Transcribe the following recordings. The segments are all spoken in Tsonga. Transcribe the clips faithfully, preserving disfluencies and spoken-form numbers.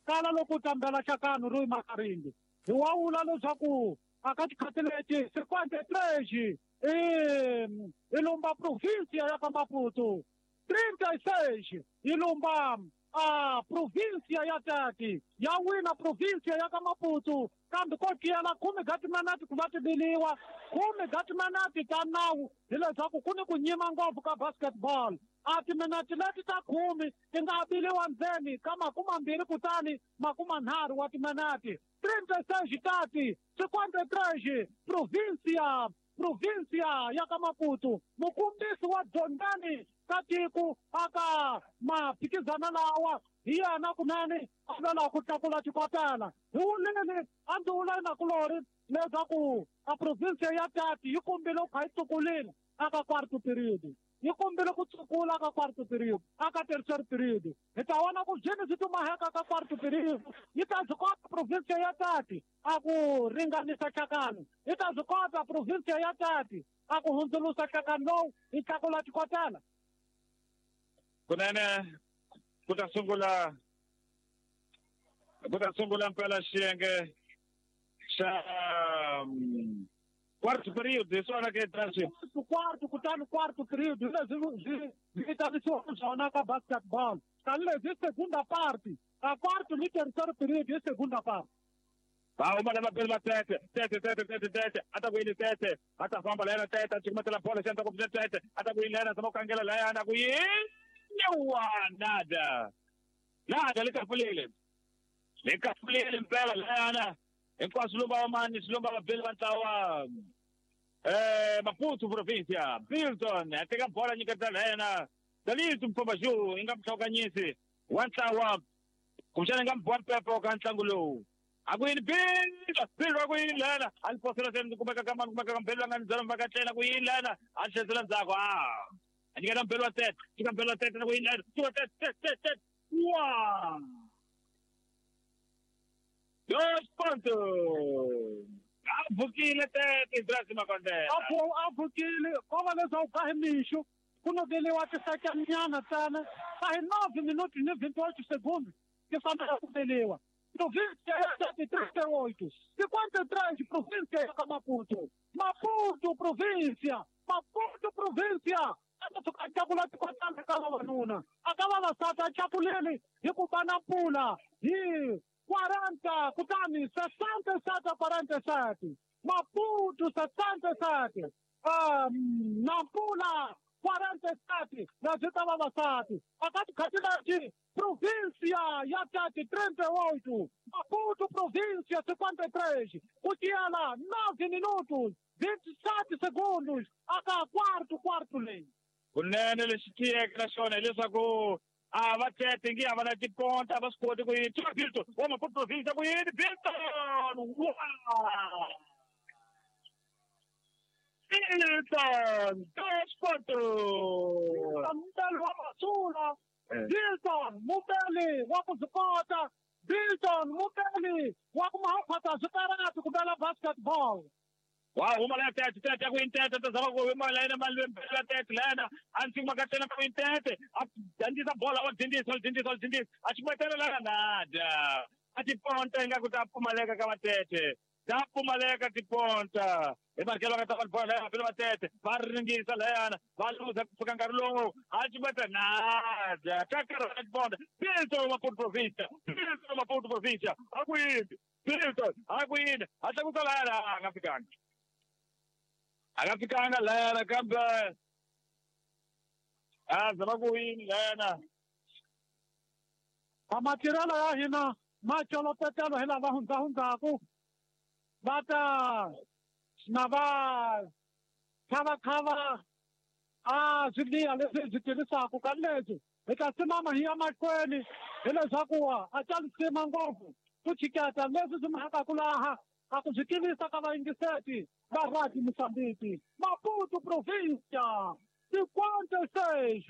Kala loko tambela xakano ro makaringi. Hi wa vula leswaku aka tikhathi leti cinquenta e três e i lumba província ya ka Maputo. trinta e seis i lumba a província ya Tati. Ya wina província ya ka Maputo. Kambe ko tiyela khume ga timinete ku va ti biliwa khume ga timinete ta nawu hileswaku ku ni ku nyima ngopfu ka basketball. A timinete leti ta khume ti nga biliwa ndzeni ka makumambirhi kutani makumanharhu wa timinete. trinta e seis Tati, cinquenta e três província província ya ka Maputo. Mukumbisi wa Dzongani ka tiko aka maphikizana lawa hi yena kunene a lwela ku tlakula xikotela. Hi wulini a ndzi vula nakulori leswaku a província ya Tati yi kumbile ku kha yi tsukulile aka quarto period. Yi kumbile ku tsukula ka quarto period aka terceiro period. Hi ta vona ku byini byi tumaheka ka quarto period. Yi ta byi kota província ya Tati a ku ringanisa xakano. Yi ta byi kota província ya Tati a ku hundzuluxa xakano lowu yi tlakula xikotela. Kunene ku ta sungula ku ta sungula mpela xiyenge xa quarto period hi swona ke Transit. Quarto kutani quarto period hi leswi swi vitanisiwaka swona ka basketball. Tanihileswi hi segunda parte, a quarto ni terceiro period hi segunda parte. Va huma lava bele va tete tete tete tete tete a ta ku yini tete a ta famba layana tete a cukumetela bolo xi endla ku tete a ta ku yini layana zama ku kangela layana ku yini wa nada nada le kafulile le kafulile mpela layana hinkwaswo lumba va mani swi lumba vabeli va ntlawa eh Maputo província. Bilton a teka bola nyiketa layana Dalito Mfambaju i nga muhlawukanyisi wa ntlawa kumbexana i nga muboha mpepo ka ntlangu lowu. A ku yini Bill Bill wa ku yini lana a ni posela se ni kumeka ka mani kumeka ka Mbelu a nga ni byela mhaka tlela ku yini lana a tlherisela ndzhaku a a nyiketa Mbelu wa tete nyika Mbelu wa tete na ku yini lana wa tete tete tete tete wa dos pontos a pfukile tete Ibrahim Makondela a a pfukile ko va leswaku ka hi mixo ku nokeliwa tisakanyana ntsena ka hi nove minuti ni vinte e oito segundos ti fanele ku biliwa. Província ya Tati trinta e oito, cinquenta e três província ya Maputo. Maputo província, Maputo província. A tlakula tikotana ka vavanuna. A ka vavasati a tlakulile hi ku va na mpfula hi quarenta kutani sessenta e sete a quarenta e sete. Maputo sessenta e sete. Um, Nampula quarenta e sete leswi ta vavasati. A ka tikhathi leti província ya Tati trinta e oito, Maputo província cinquenta e três, ku tiyela nove minutos vinte e sete segundos aka quarto quarto leyi. Kunene lexi tiyeke na xona hileswaku a va tete ngi a va na tiponta a va swi koti ku yini tiva Bilton wa Maputo província ku yini Bilton wa Bilton dos pontos Mubeli wa Masula Bilton mubeli wa ku byi kota Bilton mubeli wa ku mahaphata swikarati ku bela basketball. Wa huma la tete tete ku yini tete ta zama ku huma layena mali la tete layena a ndzi maka tena ku yini tete a dyondzisa bola wa dyondzisa wa dyondzisa wa dyondzisa a cukumetela lana nada a tiponta ingaku ta pfumaleka ka vatete ta pfumaleka tiponta hi marikelo va nga ta va bola laya va tete va ringisa layana va luza ku fika nkarhi lowu a cukumeta nada ta karhala tiponta Bilton Maputo província Bilton Maputo província a ku yini Bilton a ku yini a tlakusa layana a nga fikanga a nga fikanga layana kambe a zama ku yini layana a matirhelo ya hina ma colopetelo hi lava hundzahundzaku va ta na va khavakhava a swiliya leswi hi swi tirhisaka ka leswi hi ta simama hi ya mahlweni hileswaku a ta lisima ngopfu ku chiketa leswi swi mhakaku laha a ku swi tivisa ka vayingiseti va Radio Moçambique. Maputo província cinquenta e seis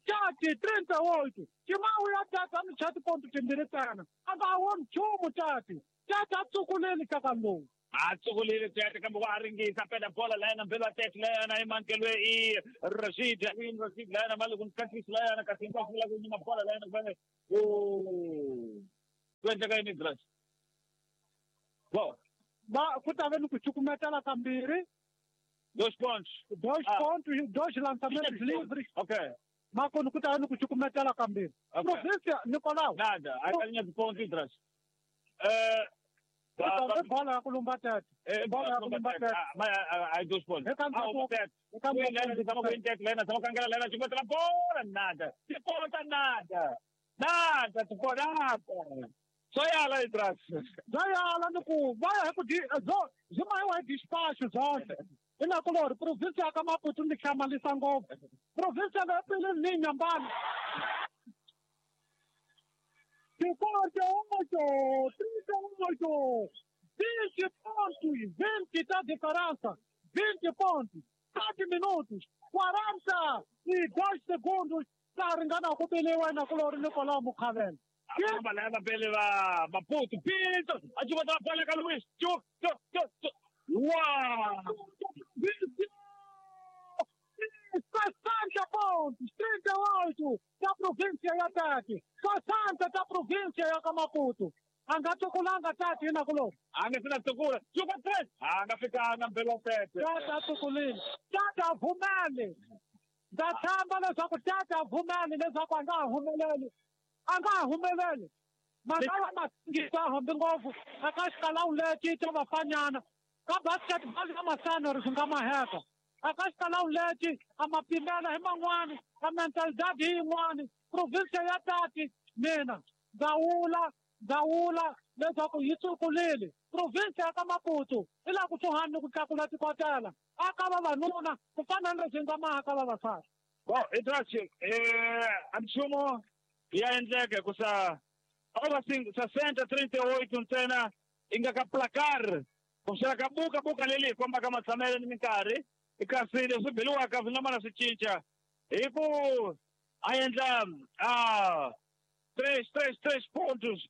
Tati trinta e oito. Timawu ya Tati a ni chati ponto timbirhi ntsena a nga woni nchumu Tati. Tati a tsukulile ka lowu. A tsukulile Tete kambe wa ringisa pela bola layana Mbelu wa Tete layana i mankelwe i Rashid i Rashid layana mali ku nkatlisi layana kasi hinkwaswo la ku nyima bola layana ku ku Ku endleka yini Grace? Bom, ba ku ta ve ni ku cukumetela kambirhi. Dois pontos. Dois ah. pontos, dois lançamentos livres. Ok. Mas quando ku ta ve ni ku cukumetela kambirhi. Okay. Província, Nicolau. Nada, a linha de ponto, Grace. Eh, uh, bola ya ku lumba tete. Bola ya ku lumba tete. Mas aí dois pontos. Ah, o tete. Bola, nada. De ponta nada. Nada, de nada. Só ela aí atrás. Só ela no cu. Vai vai despacho, zonke. Ina kulori província ka Maputo ndi hlamalisa ngopfu. Província leyi pele ni nyambana. Cinquenta e oito, trinta e oito, vinte pontos, vinte da diferença, vinte pontos, sete minutos, quarenta e dois segundos, tá ringana ku belewa na kulori Nicolau Mukhavela. Leva pele va Maputo, Pinto, a gente botar a bola com Luiz, tchu, tchu, tchu, tchu. Uau! sessenta pontos, trinta e oito da província ya Tati, sessenta da província ya Maputo. Anga tukulanga Tati na kulo. Anga sina tukula, chuka três. Anga fica pelo tete. Tata tukulini. Tata vumele. Da tamba leswaku tata vumele leswaku anga humeleli. Anga humeleli. Mangala matingisa hambi ngopfu aka xikalawu lexi ta vafanyana. Ka basketball ya masana ri swi nga maheka. Aka xikalawu lexi a ma pimela hi man'wani, a mentalidade hi yin'wani. Província ya Tati mina ndza ndawula leswaku yi tsukulile. Província ya ka Maputo i la kusuhani ni ku tlakula tikotela aka vavanuna ku fana ni leswi nga maha ka vavasati. Bom, Idrachi, eh, a nchumu ya endleka ku sa ova sessenta trinta e oito ntsena i nga ka placar kuxela ka buka buka leli hi kombaka matshamelo ni minkarhi kasi leswi beliwaka swi nga mana swi cinca hi ku a endla a três três três pontos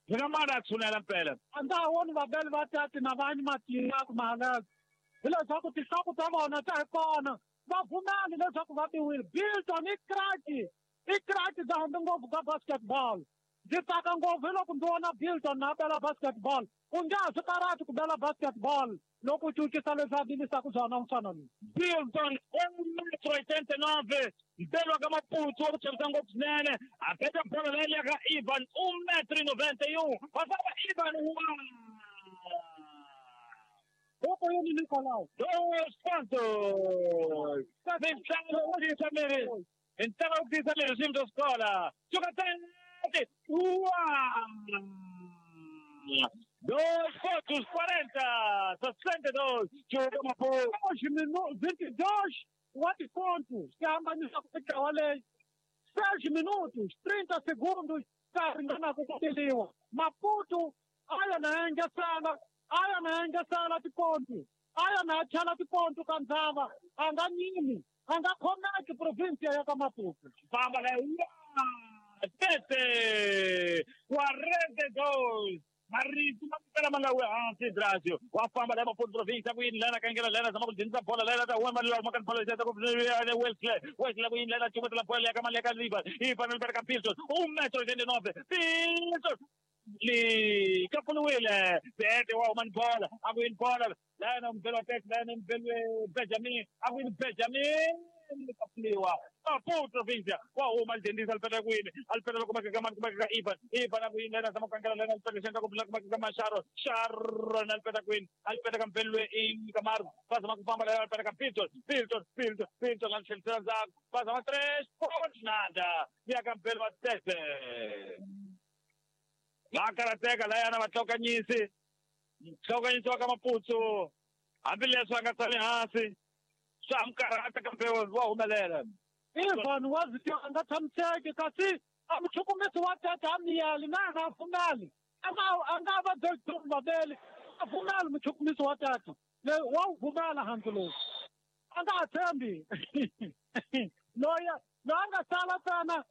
swi nga mana a tshunela mpela. A ndza ha voni vabeli va tati na vanyi matiyaku mahalelo hileswaku tinhloko ta vona ta hi kona va pfumeli leswaku va biwile. Bilton i kraki i kraki bya hambi ngopfu ka basketball. Ndzi tsaka ngopfu hi loko ndzi vona Bilton na bela basketball. U nge ha swi karhati ku bela basketball loko u cincisa leswi a bilisaka swona mfana loyi. Bilton um metro oitenta e nove mpelo ka Maputo wa ku chavisa ngopfu swinene a peta bola leyi ka Ivan um metro e noventa e um va famba Ivan wa Huko yini Nicolau dois pontos Entrava o Cristiano regime da escola joga três uau dois pontos quarenta sessenta e dois joga Maputo dois minutos vinte e dois oito pontos que hambanisa ku ntlawa leyi seis minutos trinta segundos ka ringana ku koteliwa. Maputo a ya na engesela a ya na engesela tiponto a ya na chala tiponto ka ndzava a nga nyimi a nga khomeki província ya ka Maputo. Famba leyi sete quarenta e dois marito ma mpela ma nga wi hansi Drasio wa famba la Maputo província ku yini lena kangela lena zama ku dzhenisa bola lena ta wema lwa maka bola ta ku Wesley Wesley ku yini lena chumetela bola ya ka Maleka Ivan Ivan Alberto Pilton um metro oitenta e nove Pilton li kapuluwile Tete wa man bola a ku yini bola lena mpela tete lena mpela Benjamin a ku yini Benjamin kapuliwa Maputo província wa huma alidendisa alipeta kwini alipeta loko makeka mani kumakeka Ivan Ivan akuyini lena zama kangela lena alipeta xenda ku makeka Masharo Sharon alipeta kwini alipeta ka mpelwe i Kamaru vazama kufamba lena alipeta ka Pilton Pilton Pilton Pilton alixelisela ndzhaku vazama três pontos nada ya ka mpelo wa Tete va karateka layana va tlokanyisi tlokanyisi wa ka Maputo hambileswi a nga tshami hansi swa mi karhata kambe wa humelela. Ivan wa zwi tiva a nga tshamiseki kasi a muchukumisi wa tete a miyeli na a nga pfumeli a nga a nga va Bilton vaveli a pfumeli muchukumisi wa tete leyi wa wu pfumela hansi lowu a nga ha tshembi loyi loyi a nga sala ntsena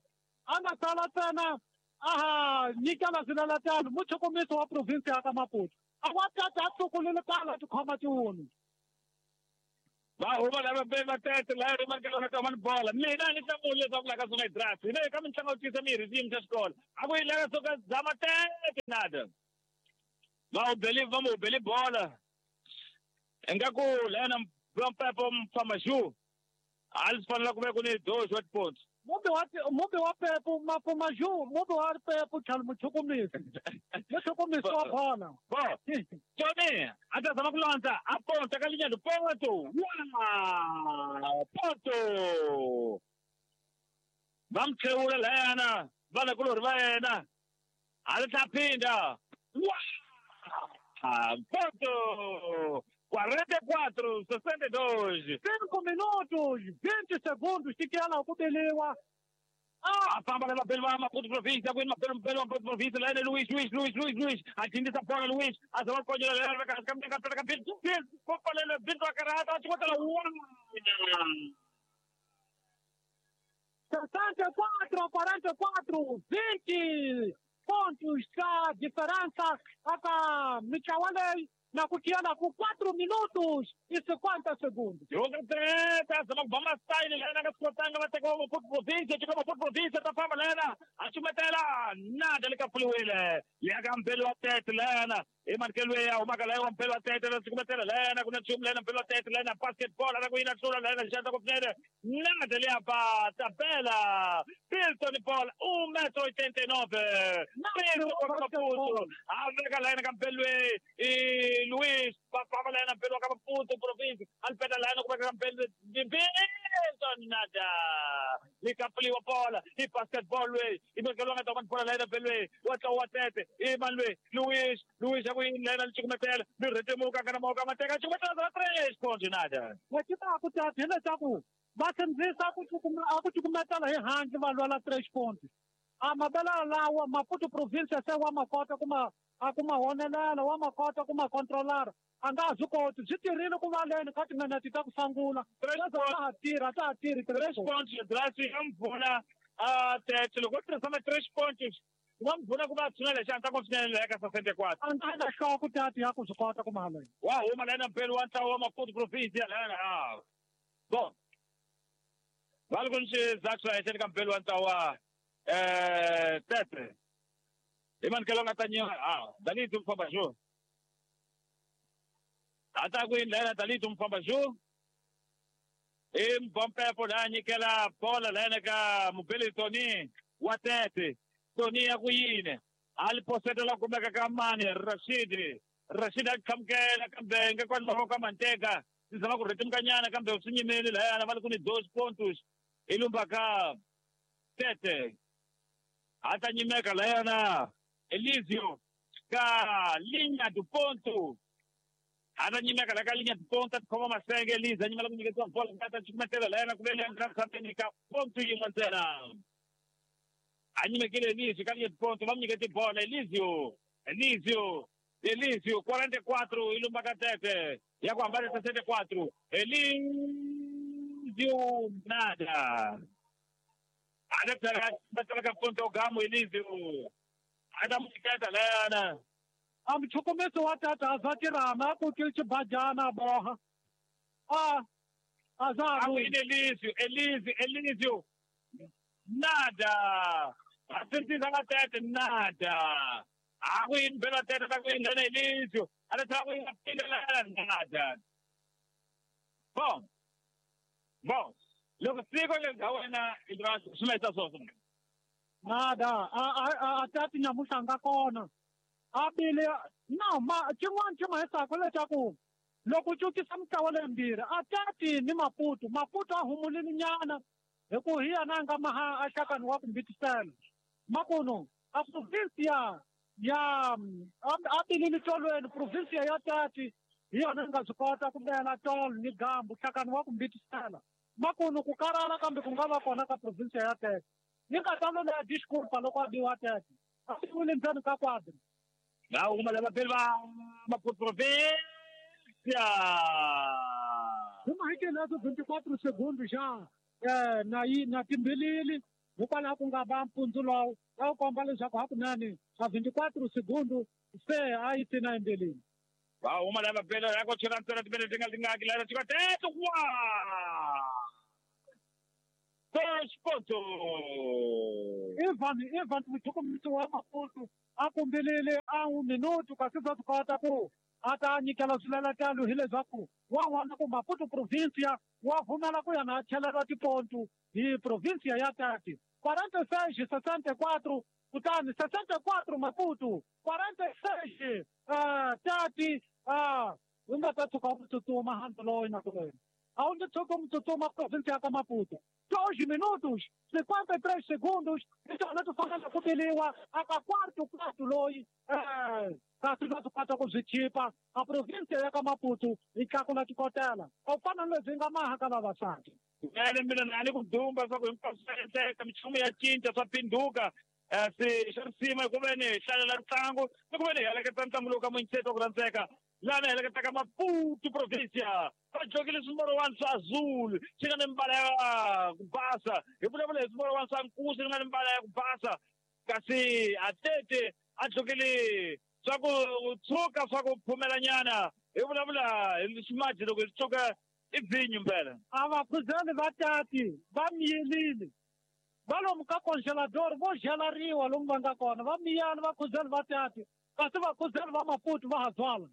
a nga sala ntsena a ha nyikela swilelatelo muchukumisi wa província ya ka Maputo a wa tete a tlukulile kala tikhoma tiwunu. Va huma lava be va tete la ri markelo na ta man bola. Mina ni hlamula leswaku la ka swi nga dress. Hina eka mitlangu yo tisa mirhi xiyimo xa xikolo. A ku yi lava suka zama tete nada. Va u beli va mu beli bola. Ingaku lena Pepo Mfamaju. A li fanele ku ve ku ni dois oito pontos. Mubi wa mubi wa Pepo Mafamaju, mubi wa Pepo tlhelo muchukumisi. Muchukumisi wa bola. Bo. Tony, a ta zama ku landza a ponta ka linya ponto. Wow! Ponto. Va mi tlhewula lana, vana kulorhi va yena. A li ta phinda. Wow! Ponto. quarenta e quatro, sessenta e dois. Cinco minutos, vinte segundos, tikela ku beliwa. Ah, a famba leva pelo Maputo província, aguenta pelo pelo Maputo província, lá é Luiz, Luiz, Luiz, Luiz, Luiz. A bola Luiz, a zona coisa leva ka ka ka ka ka ko pale bintu akarata, chukota la sessenta e quatro, quarenta e quatro, vinte pontos a diferença aka Michawale na kutiana com quatro minutos e cinquenta segundos. Jogo treta, vamos sair lena ka skotanga va teka Maputo província, teka Maputo província ta famba lena, a chumetela nada le ka pfuliwile. Ya ka mpelo wa tete lena, i mankelo ya huma ka la mpelo wa tete la chumetela lena, ku na chumu lena mpelo wa tete lena basketball la ku yina tlula lena xanta ku pfunene. Nada le apa tabela. Pilton Paul um metro oitenta e nove. Maputo. A veka lena ka mpelo e Luiz, papava lena pelo ka Maputo província, alpeta lena ku ka mpelo Pilton nada. Le kapliwa bola, i basketball we, i mankelo nga ta bola lena pelo wa tla wa tete, i manwe Luiz, Luiz a ku lena le chukumetela, mi retemuka kana moka mateka chukumetela za três pontos nada. Wa kita ku ta hina ta ku va sindzisa ku a ku cukumetela hi handle va lwela três pontos. A mabela lawa Maputo província se wa makota kuma a kuma honelela wa makota kuma controlar. A nga swi koti swi tirhile ku va leni ka timinete ta ku sungula. Ta ha tirha ta ha tirhi três pontos drasi ya mpfuna a tete loko tirhisa ma três pontos va mpfuna ku va tshunela xana ta ku tshunela eka sessenta e quatro. A nga na hloko tati ya ku swi kota ku mahala. Wa huma lena mpelo wa ntlawa wa Maputo província lena. Ah. Bom. Vale com xizathu xa ka mpelo wa ntlawa eh tete. I mankelo nga ta nyiwa ah Dalito Mfambaju. Ata ku indlela Dalito Mfambaju. I Mbompepo la nyikela bola lena ka Mubeli Tony wa tete. Tony ya ku yini. A li posetela kumeka ka mani Rashid. Rashid a qhamukela kambe nga kwani mavoko manteka. Sizama ku rhetemukanyana kambe swi nyimeli lahayana va li ku ni dois pontos. I lumba ka tete. A ta nyimeka lahayana Elísio ka linha do ponto. A ta nyimeka la ka linha do ponto, a tikhoma masenge Elísio, a nyimela ku nyiketiwa bola ka ta chukumetela lahayana ku vele nga khameni ka ponto yin'we ntsena. A nyimekile Elísio ka linha do ponto, va mu nyikete bola Elísio. Elísio, Elísio, quarenta e quatro, i lumba ka tete. Ya ku hambana sessenta e quatro. Elísio nada. A ta tlhela ka ponto gamo Elísio. A ta mu nyiketa lena. A muchukumisi wa tata a za tirhama a kokile xibajana a boha. A a za A ku yini Elísio, Elísio, Elísio. Nada. A sindzisa nga tete nada. A ku yini bela tete ta ku yini lena Elísio. A ta tlhela ku yini phinda lena nada. Bom. Bom. Loko siku leri nga wena i swi ma swona. Nada. A a a tati nyamuhla nga kona. A bile no ma xin'wana xi ma hisaka leswaku loko u cukisa mitlawa leyimbirhi a tati ni Maputo. Maputo a humulile nyana hi ku hi yena a nga maha a xakani wa ku mbitisela. Makuno a província ya a bilile tolweni província ya tati hi yona yi nga swi kota ku bela tolo ni gambu hlakani wa ku mbitisela. Makuno ku karhala kambe ku nga va kona ka província ya tete. Ni nga ta lola disculpa loko a biwa tete. A biwile ndzeni ka quadra. Na huma lava beli va Maputo província. Huma hi leto vinte e quatro segundos já eh na yi na timbilili hikwalaho ku nga va mpfundzu lowu a wu komba leswaku hakunene a vinte e quatro segundos se a yi tina embilini. Va huma lava bela ya ko chela ntsena timene ti nga tingaki lana chika tete wa dois ponto Ivan Ivan muchukumisi wa Maputo a kombelele a un minuto kasi bya swi kota ku a ta nyikela swileletelo hileswaku wa vona ku Maputo provincia wa vumela ku ya na cheleriwa tipontu hi provincia ya Tati quarenta e seis sessenta e quatro kutani sessenta e quatro Maputo quarenta e seis uh, Tati uh, u nga ta tshuka u tsutsuma handle loyi na ku wena a wu nge tshuki u tsutsuma provincia ya ka Maputo dois minutos cinquenta e três segundos hi tona ti fanele ku biliwa aka quarto quarto loyi eh, kasi va swi kota ku byi chipa a provincia ya ka Maputo yi tlakula tikotela a wu fana na lebyi nga maha ka vavasati ene mina na ni ku dumba swa ku hinkwaswo swa endleka minchumu ya cinca swa phinduka se xa risima hi ku ve ni hi hlalela ntlangu ni ku ve ni hi heleketa ntlangu lowu ka munyiseti wa ku rhandzeka laha ni heleketaka Maputo provincia va jokile swimorowani swa azul swi nga ni mbala ya ku basa hi vulavula hi swimorowani swa nkuzi swi nga ni mbala ya ku basa kasi atete a jokile swa ku tshuka swa ku phumelanyana hi vulavula hi ximaji loko hi tshuka i vhinyo mpela a va khuzeli va Tati va miyelile va lomu ka congelador vo gelariwa lomu va nga kona va miyana va khuzeli va Tati kasi va khuzeli va Maputo va ha byala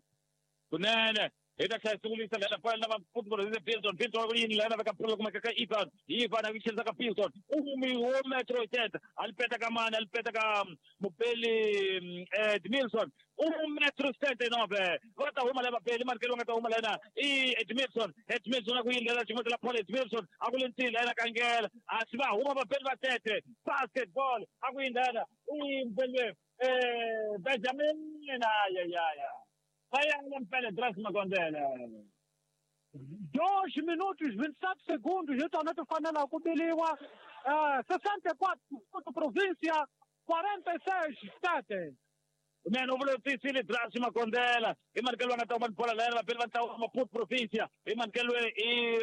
kunene hi ta tlhela sungulisa lena pala na Maputo provincia Bilton Bilton ku yini lena veka pula kumeka ka Ivan Ivan a ku ka Bilton umi wo metro teta a li peta ka mani a li peta ka mupeli Edmilson um metro setenta e nove va ta huma leva peli mani ke nga ta huma lena i Edmilson Edmilson a ku yini lena xin'wana la Paul Edmilson a ku le ntini lena kangela a swi va huma vapeli va tete basketball a ku yini lena i mupeli eh Benjamin ay ay ay vai mpela Drax Makondele dois minutos vinte e sete segundos hi tona ti fanela ku biliwa uh, sessenta e quatro província quarenta e seis Tete Mano, u vula Drax Makondela i manikelo nga ta huma bola lena vapeli va ntlawa wa Maputo provincia i manikelo i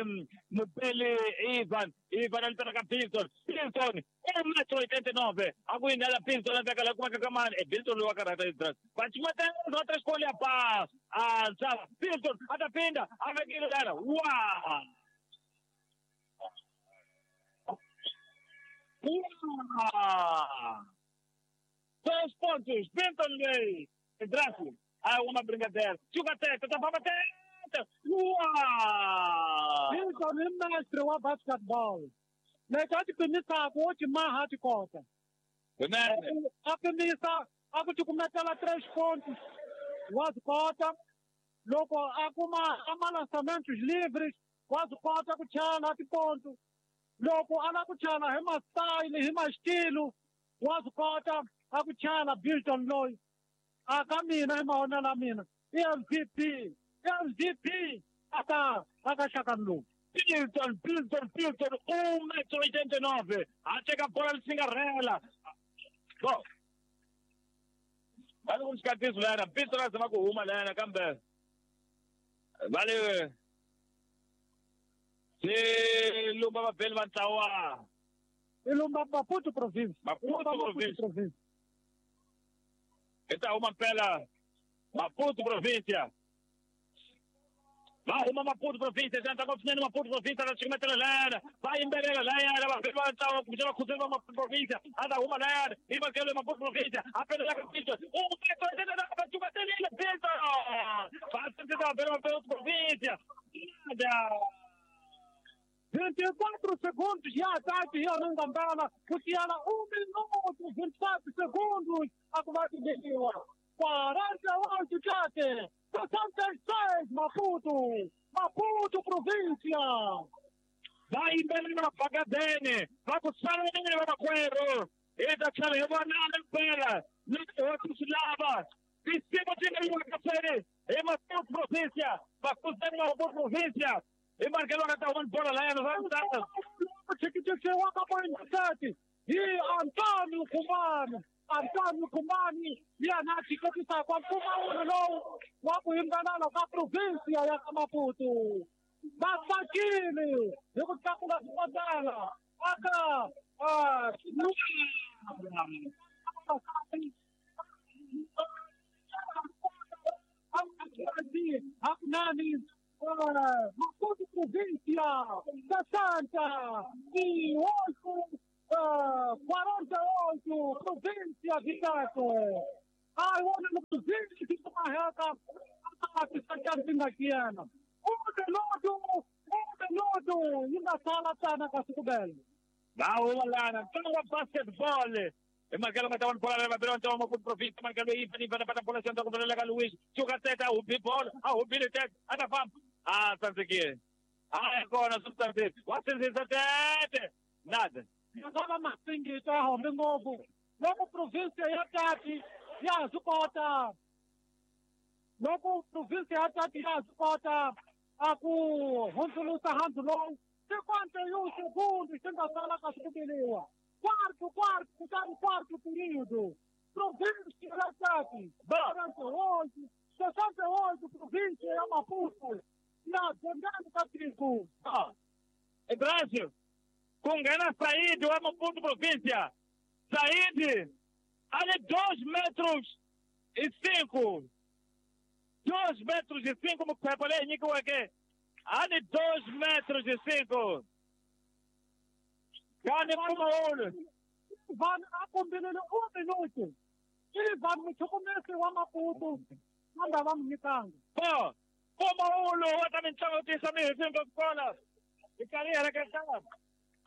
mupeli Ivan Ivan a litana ka Bilton Bilton um metro oitenta e nove a ku yindela Bilton a veka la kumeka ka mani e Bilton loyi wa karhata Drax va cimatela va ta xikolo ya pa a nsava Bilton a ta phinda a vekile lana wa wa dois pontos, Benton Lei, Draco, ah, uma brincadeira. Chuga teta, tá para teta. Uau! Bilton é mestre wa basketball. Lexi a ti pimisaka wo ti maha ti kota. A pimisa a ku cukumetela três pontos wa swi kota. Loko a kuma a malançamentos livres wa swi kota ku chela tiponto. Loko a lava ku chela hi ma-style hi ma-estilo wa swi kota a ku chela Bilton loyi. A ka mina hi mavonelo ya mina i M V P M V P aka aka xakani lowu. Bilton Bilton Bilton um metro oitenta e nove a teka bola lisingarela bo va le ku xikatiso lana Bilton a zama ku huma lana kambe va le se lumba vapeli va ntlawa i lumba Maputo province Maputo province hi ta huma mpela Maputo provincia va huma Maputo provincia xana ta swinene Maputo provincia la cukumetela lana va yimbelela layana va va ntlawa kumbe va khuzela va Maputo provincia a ta huma layana i makelo Maputo provincia a pelela ka Bilton um metro va cukumetelile Bilton va va va Maputo provincia nada vinte e quatro segundos já Tati ya nga ku siyala um minuto vinte e sete segundos a ku va tibeliwa quarenta e oito Tete sessenta e seis Maputo Maputo província va yimbelela vaphakadene va ku saleleni vamakwerhu hi ta tlhela hi vonana mpela loko swi lava tinsimu ti nga yiwaka swene hi Maputo provincia vakhuzeni va Maputo provincia i manikelo nga ta huma bola layana swa chikichisiwa ka point thirty hi Antonio Khumani Antonio Khumani yena a chiketisaka mpfumawulo lowu wa ku yimbelela ka provincia ya ka Maputo va tsakile hi ku tlakula swikotela aka hakunene Maputo província sessenta e oito, quarenta e oito, província de Tete. Ai, olha no província de Marreca, a que um minuto, um minuto, ainda sala tá na Cascubel. Vamos lá, então basquetebol. E Marcelo mata one bola leva pelo então Maputo província Marcelo Ivan Ivan para bola senta com bola Luiz joga teta o bola a o Billy teta a fam ah sanziki ah agora substantive what tete nada ngaba masingito a hombe ngobu loko província ya Tati ya zukota loko província ya Tati ya zukota a ku hundzulusa handzu lowu cinquenta e um segundos swi nga sala ka swikubiliwa quarto, quarto, quarto, quarto período. Província da Tati, quarenta e oito, sessenta e oito, província de Maputo, na Zangano Catrico. Ah, é Brasil, com Gana Saíde, o Maputo província. Saíde, ali dois metros e cinco. Dois metros e cinco, ali dois metros e cinco. Gane kuma ouro. Ivan a combinando um minuto. Ivan muito começo wa Maputo. Manda vamos mitanga. Pô, kuma ouro, wa também chama o tisa mi fim bola. E carreira que tá.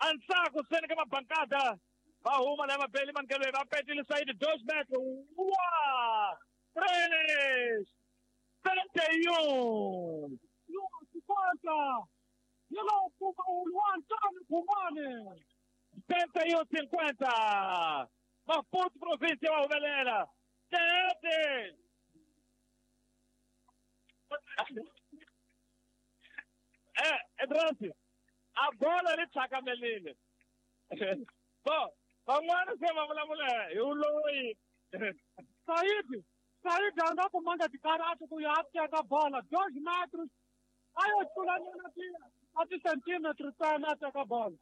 Ansaco sendo que uma bancada. Vai uma leva pele man que leva pete ele sai de dois metros. Uau! Três. Trinta e um. Cinquenta. E não kuma ouro, Antônio Kumane. setenta e um cinquenta. Maputo província Alvelera. Sete. É, é Drance. A bola ali saca melile. Bom, vamos lá, vamos lá, mulher. Eu loi. Saíde, Saíde andou com manga de karate com a bola, dois metros. Aí eu estou lá na a centímetros tá na a bola.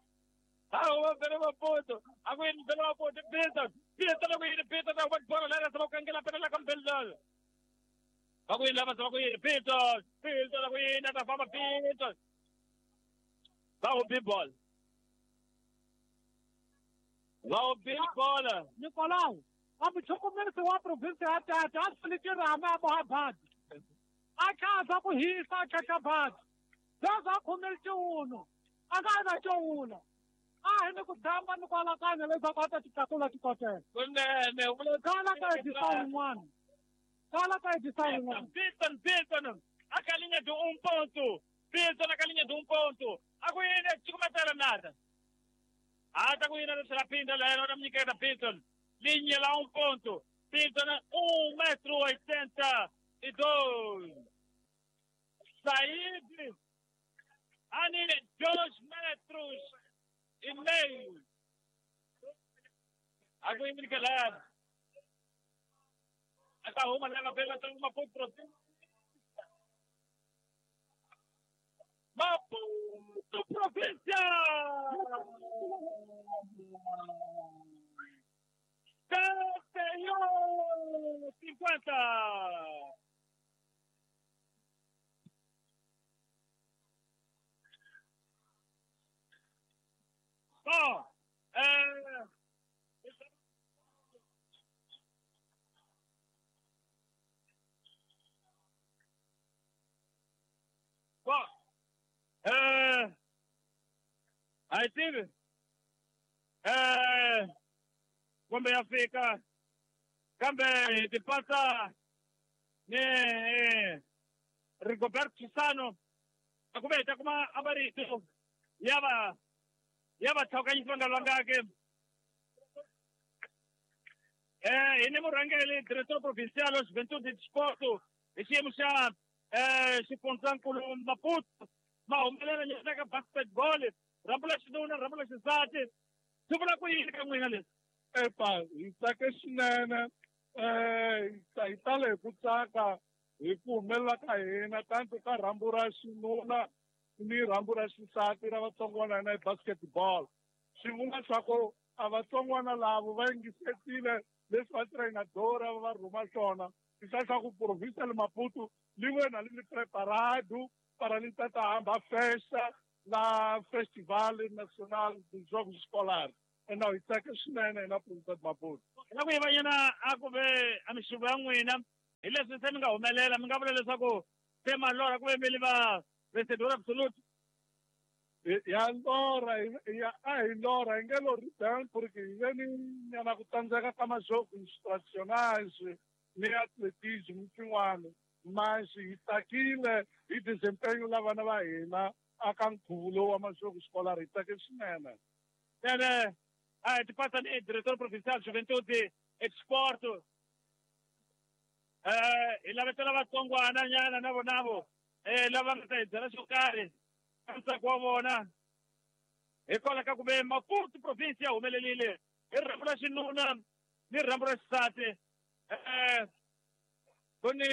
Ah, o pelo Maputo, agora pelo Maputo, Pinto, Pinto, não ir, Pinto, não vai bola lá, só com aquela pela campela. Agora lá, só com ele, Pinto, Pinto, não ir, na fama Pinto. Vai o bol. Vai o bola. Nicolau, a bicho começou a província até até a solidariedade a Mohabad. A casa com risa, a chachabad. Já comerciou uno. Agora já uno. Ah, ele kudamba no kwala kana le zakata tikakula tikotela. Kunene, kala ka edisa um Kala ka edisa um. Pinto, Pinto, a galinha de um ponto. Pinto na galinha de um ponto. A guina te começar nada. Ah, tá guina será Pinto, lá não me quer Pinto. Linha lá um ponto. Pinto na um metro oitenta e dois. Saíde. Ali dois metros e meio. Água em Nicolás. Essa uma leva pela uma ponto província. Maputo província. Setenta e um cinquenta. Bom, é... Bom, é... Aí tive... É... Como é fica... Kambe te passa... Ne... Rigoberto Chisano... Akube, kuma abarito... Yaba... Yaba tshokanyiswa nga lwangake eh ine murhangeri diretor provincial wa Juventude de Desporto hi xiyimo xa eh xifundzankulu Maputo ma humelela nyana ka basketball rhambu la xinuna rhambu la xisati swi vula ku yini ka n'wina leswi epa hi tsake swinene eh hi tale hi ku tsaka hi ku humelela ka hina tanto ka rhambu ra xinuna ni rhambu ra xisati ra vatsongwana na basketball swi vula swa ku a vatsongwana lavo va yingisetile leswi va trainadora va rhuma swona Tisa ku província de Maputo li wena li preparado para li tata hamba festa na Festival Nacional dos Jogos Escolares. Então, hi tsaka swinene na província de Maputo. La ku yivanyana a ku ve a mixuvo ya n'wina hi leswi se mi nga humelela mi nga vula leswaku se malora ku ve mi li va vencedor absoluto. Ya lora ya a hi lora hi nge lori bem porque hi ve ni nyana ku tsandzeka ka majogos tradicionais ni atletismo swin'wana mas hi tsakile hi desempenho la vana va hina aka nkhuvo lowu wa majogo escolar hi tsake swinene. Ene a hi tipatsa ni diretor provincial Juventude Export eh hi lavetela vatsongwana nyana na vonavo eh lava nga ta hi byela xo karhi ntsako wa vona hikwalaho ka ku ve Maputo province ya humelelile hi rhambu ra xinuna ni rhambu ra xisati eh ku ni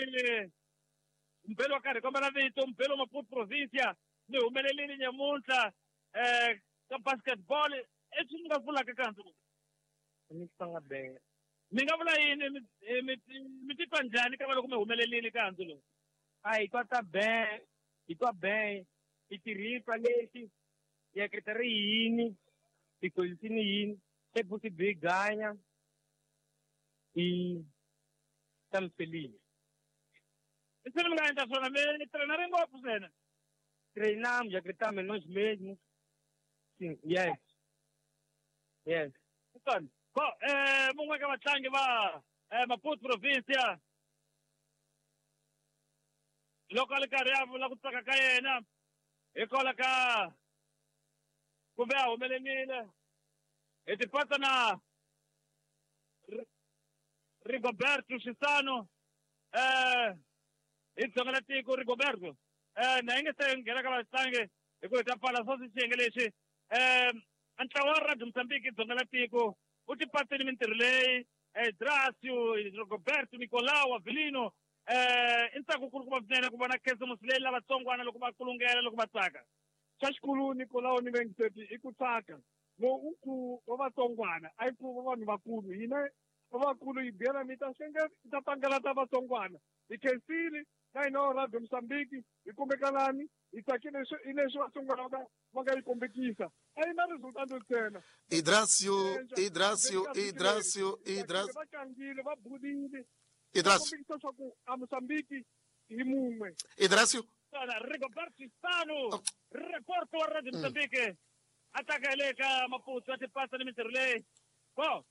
mbelo wa karhi kombela vito mbelo Maputo province ni humelelile nyamuntlha eh ka basketball eswi mi nga vulaka ka hansi mi nga vula yini mi titwa njhani ka va loko mi humelelile ka hansi lowu? A hi twa ta ben hi twa ben hi tirhisa lexi hi ehleketa ri yini tikozisini yini se futhi byi ganya hi tamfelini. Se mi nga endla swona mi trainare ngopfu swinene? Treinamos, acreditamos em nós mesmos. Sim, yes. Yes. Bom, eh, mungwe ka vatlangi va eh, Maputo provincia loko a li karhi a vula ku tsaka ka yena hikwalaho ka kumbe a humelelile hi tipatsa na Rigoberto Xisano eh hi dzonga la tiko Rigoberto eh na yi nge se nghena ka vatlangi hi ku hi ta pfala swo xiyenge lexi eh ntlawa wa Radio Mozambique dzonga la tiko u tipatsini mintirho leyi Dracio Rigoberto Nicolau Avelino eh i ntsako kulukumba swinene ku vona khisimusi leyi lavatsongwana loko va kulungela loko va tsaka. Xa xikulu Nicolau ni Vengiseti i ku tsaka lowu nkhuvo wa vatsongwana a yi nkhuvo wa vanhu vakulu hina va vakulu hi biyela mi ta xenge ta pangela ta vatsongwana hi khensile na hina Radio Mozambique hi kumbekalani hi tsakile hi leswi vatsongwana va va nga yi kombekisa a yi na resultado ntsena. Hidracio, Hidracio, Hidracio, Hidracio. Va tlangile va bulile. Hidracio. Kombekisa swa ku a Mozambique hi mun'we. Hidracio. Rigoberto Xisano reporto wa Radio Mozambique a tsaka le ka Maputo a tipasa ni mintirho leyi. Bo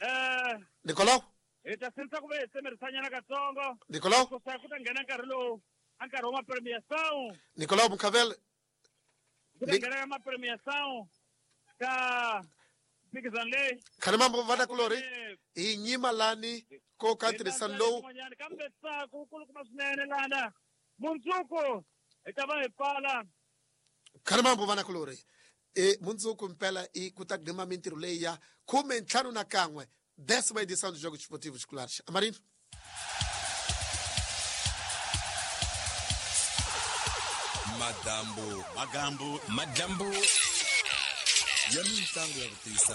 eh Nicolau hi ta sinsa ku ve hi tsemerisanyana katsongo Nicolau ku sa ku ta nghena nkarhi lowu a nkarhi wa mapremiação Nicolau Mucavel ku ta nghena ka mapremiação ka mphikizano leyi khalimambo vana kulori hi nyima lani ko ka ntirhisano lowu kambe ntsako wu kulukumba swinene lana mundzuku hi ta va hi pfala. Khalimambo vana kulori e mundzuku mpela i ku ta gima mintirho leyi ya khume ntlhanu na kan'we décima edição dos Jogos Desportivos Escolares. Amarino. Madambo, Magambo, Madambo. Ya mintlangu ya ku tiyisa